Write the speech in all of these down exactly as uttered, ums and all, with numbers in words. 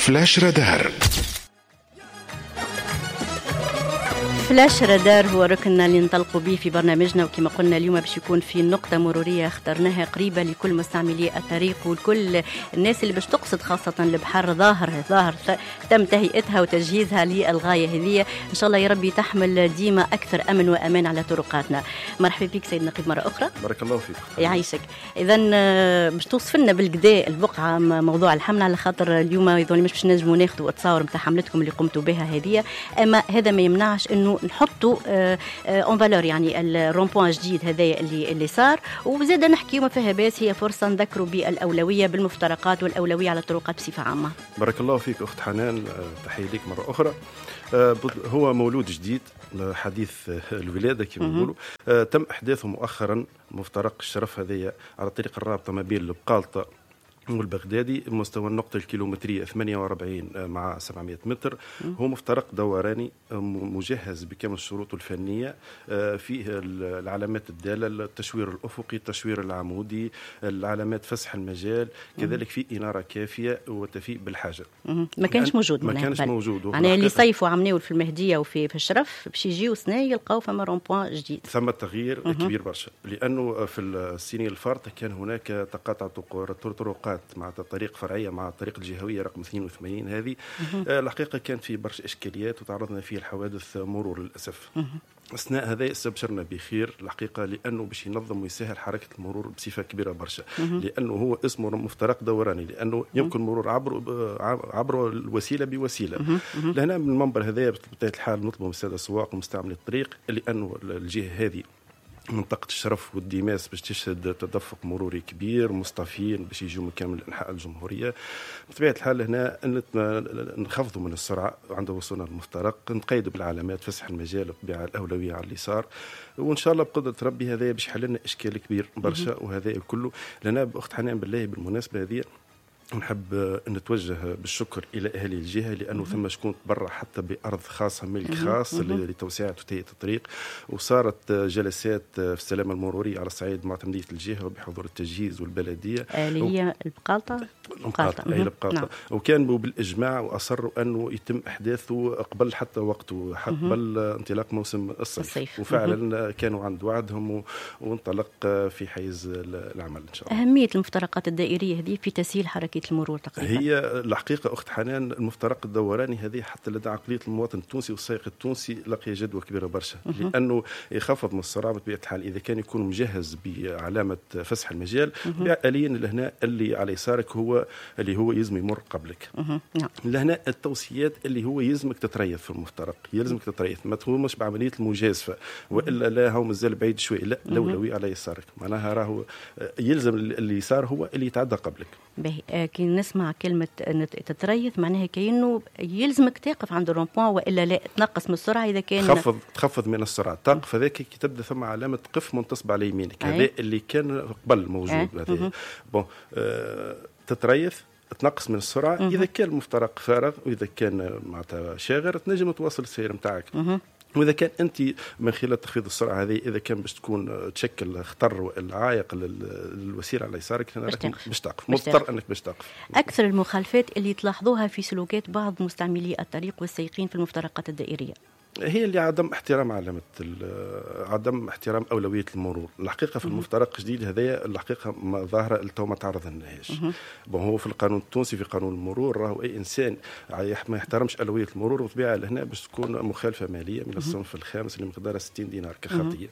flash radar. flash radar هو ركننا اللي ننطلقوا به في برنامجنا، وكما قلنا اليوم باش يكون في نقطة مرورية اخترناها قريبة لكل مستعملي الطريق ولكل الناس اللي باش تقصد خاصة البحر. ظاهر ظاهر تم تهيئتها وتجهيزها للغاية هذه، إن شاء الله يا ربي تحمل ديما أكثر أمن وأمان على طرقاتنا. مرحبا بك سيد نقيب مرة أخرى. بارك الله فيك. يعيشك. إذا باش توصف لنا بالكدا البقعة موضوع الحملة، على خاطر اليوم يظل مش باش نجموا ناخذوا التصاور نتاع حملتكم اللي قمتوا بها هذه، أما هذا ما يمنعش انه نحطوا en valeur يعني ال rond-point الجديد هذايا اللي اللي صار، وزاد نحكيو ما فيها باس، هي فرصة نذكروا بالاولويه بالمفترقات والاولويه على الطرقات بصفة عامة. بارك الله فيك اخت حنان، تحية لك مرة اخرى. هو مولود جديد حديث الولادة كما نقولوا، تم احداثه مؤخرا مفترق الشرف هذايا على طريق الرابطة ما بين البقالطه والبغدادي مستوى النقطة الكيلومترية ثمانية وأربعين مع سبعمائة متر. هو مفترق دوراني مجهز بكامل الشروط الفنية، فيه العلامات الدالة، التشوير الأفقي، التشوير العمودي، العلامات فسح المجال، كذلك في إنارة كافية وتفي بالحاجة. ما كانش موجود، ما كانش موجود. يعني اللي صيفوا عمناول في المهدية وفي في الشرف باش يجيو سنة يلقاو فما rond-point جديد. ثم تغيير كبير برشا، لأنه في السنين الفارطة كان هناك تقاطع طرقات مع طريق فرعية مع الطريق الجهوية رقم اثنين وثمانين هذه. الحقيقة كانت في برشا اشكاليات وتعرضنا فيه الحوادث مرور للاسف. اثناء هذا استبشرنا بخير الحقيقة، لانه باش ينظم ويسهل حركة المرور بصفة كبيرة برشا، لانه هو اسمه مفترق دوراني، لانه يمكن مرور عبر عبر الوسيلة بوسيلة. لهنا من المنبر هذا بطبيعة الحال نطلب من السادة السواق ومستعملي الطريق، لانه الجهة هذه منطقة الشرف والديماس باش تشهد تدفق مروري كبير، مصطفين باش يجوا من كامل أنحاء الجمهورية. بطبيعة الحال هنا نخفضوا من السرعة عند وصولنا للمفترق، نقيدوا بالعلامات فسح المجال بالطبيعة الأولوية على اليسار، وإن شاء الله بقدرة ربي هذا باش يحل لنا إشكال كبير برشا. وهذا كله لنا بأخت حنان بالله بالمناسبة هذه نحب نتوجه بالشكر إلى أهل الجهة، لأنه ثم شكون تبرع حتى بأرض خاصة ملك خاص لتوسعة وتهيئة الطريق، وصارت جلسات في السلامة المرورية على صعيد معتمدية الجهة وبحضور التجهيز والبلدية اللي هي البقالطة. البقالطة أي البقالطة. نعم. وكان بالإجماع وأصروا أنه يتم إحداثه قبل حتى وقته، قبل انطلاق موسم الصيف, الصيف. وفعلا كانوا عند وعدهم وانطلق في حيز العمل إن شاء الله. أهمية المفترقات الدائرية هذه في تسهيل حركة المرور تقريبا. هي الحقيقة أخت حنان المفترق الدوراني هذه حتى لدى عقلية المواطن التونسي والسائق التونسي لقي جدوى كبيرة برشا، لأنه يخفض من السرعة بطبيعة الحال إذا كان يكون مجهز بعلامة فسح المجال. آليا لهنا اللي على يسارك هو اللي هو يلزم يمر قبلك. لهنا التوصيات اللي هو يلزمك تتريث في المفترق، يلزمك تتريث، ما تقومش بعملية المجازفة وإلا لا هو مازال بعيد شوي، لا الأولوية على يسارك، معناها راهو يلزم اللي يسار هو اللي يتعدى قبلك. باهي، كي نسمع كلمة تتريث معناها كأنه يلزمك تقف عند ال rond-point وإلا لا تنقص من السرعة إذا كان تخفض تخفض من السرعة، تقف هذاك كي تبدا ثم علامة قف منتصب على يمينك، هذا اللي كان قبل موجود هذا. bon آه تتريث تنقص من السرعة. مم. إذا كان المفترق فارغ وإذا كان معناتها شاغر تنجم تواصل السير نتاعك. وإذا كان أنت من خلال تخفيض السرعة هذه إذا كان باش تكون تشكل خطر وإلا عائق للوسيلة على يسارك باش تقف، مضطر أنك باش تقف. أكثر المخالفات اللي تلاحظوها في سلوكات بعض مستعملي الطريق والسائقين في المفترقات الدائرية هي اللي عدم احترام علامة عدم احترام أولوية المرور. الحقيقة في المفترق الجديد هذايا الحقيقة ما ظاهرة التو ما تعرض لناهاش. bon هو في القانون التونسي في قانون المرور راهو أي إنسان ما يحترمش أولوية المرور وطبيعة لهنا باش تكون مخالفة مالية من الصنف الخامس اللي مقدارها ستين دينار كخطية.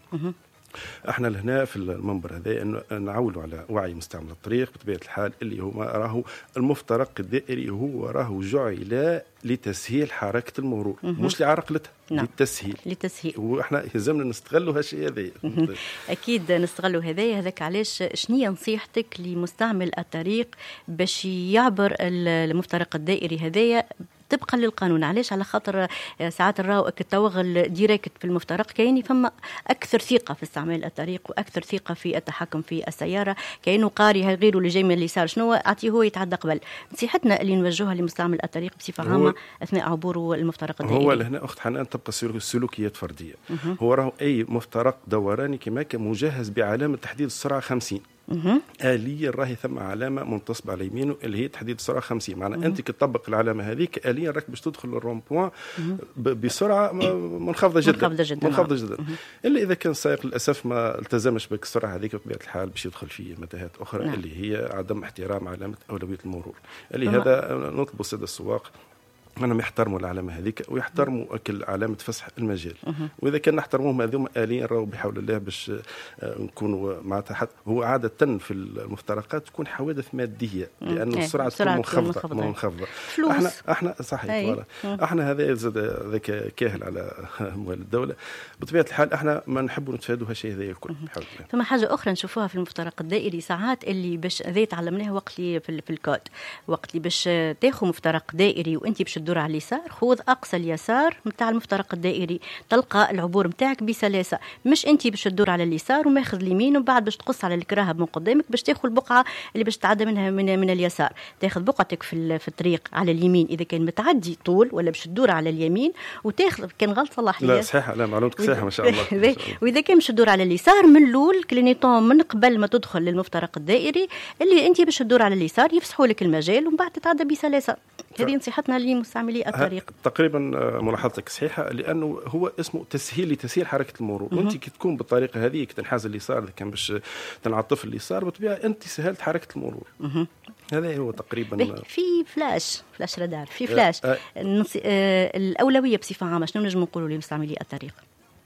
احنا لهنا في المنبر هذا نعولوا على وعي مستعمل الطريق بطبيعة الحال اللي هما راهو المفترق الدائري هو راهو جعل لتسهيل حركة المرور، مش لعرقلتها. نعم. للتسهيل للتسهيل واحنا يلزمنا نستغلوا هالشيء هذا. اكيد نستغلوا هذا. هذاك علاش شنية نصيحتك لمستعمل الطريق باش يعبر المفترق الدائري هذايا طبقا للقانون؟ علاش؟ على خاطر ساعات نراو التوغل direct في المفترق كاين فما اكثر ثقة في استعمال الطريق واكثر ثقة في التحكم في السيارة، كانه قاري غيره اللي جاي من اليسار شنو اعطيه هو يتعدى قبل. نصيحتنا اللي نوجهها لمستعمل الطريق بصفة عامة اثناء عبوره المفترق الدائري، هو لهنا اخت حنان تبقى سلوكيات فردية. هو راهو اي مفترق دوراني كما كان مجهز بعلامة تحديد السرعة خمسين. آليا راهي ثم علامة منتصبه على يمينه اللي هي تحديد السرعة خمسين، معناها انت كي تطبق العلامة هذيك آليا راك باش تدخل ال rond-point بسرعة منخفضة جدا منخفضة جدا منخفضة جدا. الا اذا كان السائق للاسف ما التزمش بالسرعة هذيك بطبيعة الحال باش يدخل في متاهات اخرى. نعم. اللي هي عدم احترام علامة اولوية المرور، اللي هذا نطلب السادة السواق انهم يحترموا العلامة هذيك ويحترموا كل علامة فسح المجال. واذا كان نحترموهم هذوما اليا راهو بحول الله باش نكونوا معناتها حتى هو عادة في المفترقات تكون حوادث مادية لانه السرعة تكون منخفضة منخفضة. احنا احنا صحيح احنا هذا زاد ذاك كاهل على اموال الدولة بطبيعة الحال، احنا ما نحبوا نتفادوا هالشيء هذا الكل بحول الله. ثم حاجة اخرى نشوفوها في المفترق الدائري ساعات اللي باش هذا تعلمناها وقت اللي في الكود، وقت اللي باش تاخذ مفترق دائري وانت باش تدور على اليسار، خذ اقصى اليسار نتاع المفترق الدائري تلقى العبور نتاعك بسلاسة، مش انت باش تدور على اليسار وماخذ اليمين ومن بعد باش تقص على الكراهب من قدامك باش تاخذ البقعة اللي باش تعدى منها من, من اليسار، تاخذ بقعتك في في الطريق على اليمين اذا كان متعدي طول ولا باش تدور على اليمين وتاخذ كان غلط صلح لي. لا صحيح، لا معلومتك صحيحه ما شاء الله. واذا كان باش تدور على اليسار من الاول clignotant من قبل ما تدخل للمفترق الدائري اللي انت باش تدور على اليسار يفسحوا لك المجال ومن بعد تتعدى بسلاسة. هذه نصيحتنا لمستعملي الطريق. تقريبا ملاحظتك صحيحه، لانه هو اسمه تسهيل لتسهيل حركة المرور، وانت كي تكون بالطريقة هذيك تنحاز اليسار اذا كان باش تنعطف اليسار بالطبيعة انت سهلت حركة المرور. هذا هو تقريبا. في flash flash radar، في فلاش أه أه الاولوية بصفة عامة شنو نجم نقولوا لمستعملي الطريق؟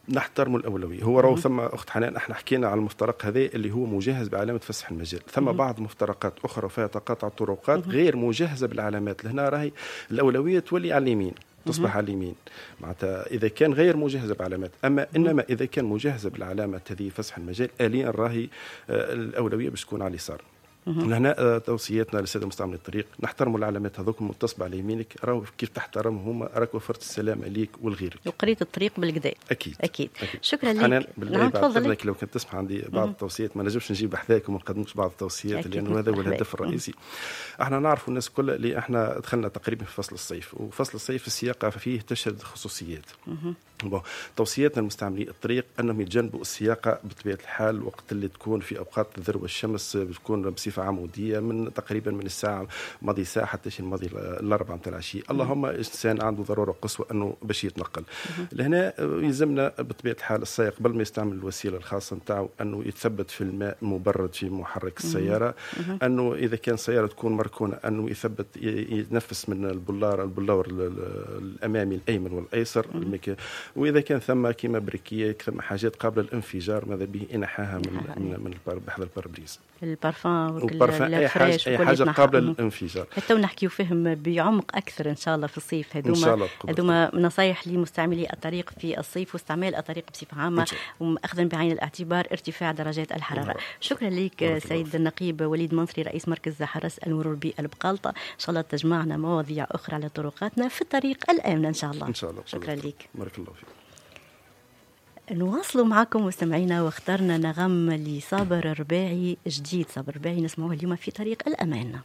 نحترم الأولوية. هو راهو ثم أخت حنان احنا حكينا على المفترق هذا اللي هو مجهز بعلامة فسح المجال، ثم بعض مفترقات أخرى فيها تقاطع طرقات غير مجهزة بالعلامات، لهنا راهي الأولوية تولي على اليمين، تصبح على اليمين معناتها إذا كان غير مجهزة بعلامات. أما إنما إذا كان مجهزة بالعلامة هذه فسح المجال آليا راهي الأولوية باش تكون على اليسار. لهنا توصياتنا للسادة مستعملي الطريق نحترموا العلامات هذوك المنتصبه على يمينك، راهو كيف تحترمهم راك وفرت السلامة ليك ولغيرك وقريت الطريق بالكدا. اكيد اكيد, أكيد. شكرا لك. نعم تفضل. لو كنت تسمح عندي بعض التوصيات، ما نجمش نجيب حذاك وما نقدمش بعض التوصيات لانه هذا هو الهدف الرئيسي. احنا نعرفوا الناس كل اللي احنا دخلنا تقريبا في فصل الصيف، وفصل الصيف السياقه فيه تشهد خصوصيات. bon توصياتنا لمستعملي الطريق انهم يتجنبوا السياقه بطبيعة الحال وقت اللي تكون في اوقات ذروة الشمس، بتكون بصفة عموديه من تقريبا من الساعة ماضي ساعة حتى شي الماضي الاربعة نتاع العشية. اللهم انسان عنده ضرورة قصوى انه باش يتنقل. لهنا يلزمنا بطبيعة الحال السائق قبل ما يستعمل الوسيلة الخاصة نتاعو انه يتثبت في الماء المبرد في محرك السيارة، انه اذا كان سيارة تكون مركونة انه يثبت يتنفس من البلار البلور الامامي الايمن والايسر، واذا كان ثم كيما briquet ثم حاجات قابله للانفجار ماذا به انحاها من من من بحذا ال pare-brise ال parfum وال اي حاجة اي حاجة قابله للانفجار. حتى نحكيو فيهم بعمق اكثر ان شاء الله في الصيف. هذوما هذوما نصايح لمستعملي الطريق في الصيف واستعمال الطريق بصفة عامة واخذا بعين الاعتبار ارتفاع درجات الحرارة. شكرا لك سيد النقيب وليد منصري رئيس مركز حرس المرور بالبقالطه. ان شاء الله تجمعنا مواضيع اخرى على طرقاتنا في الطريق الامنة ان شاء الله. ان شاء الله. شكرا لك. بارك الله فيك. نواصلوا معكم مستمعينا واخترنا نغم لصابر الرباعي جديد، صابر الرباعي نسمعوه اليوم في طريق الأمان.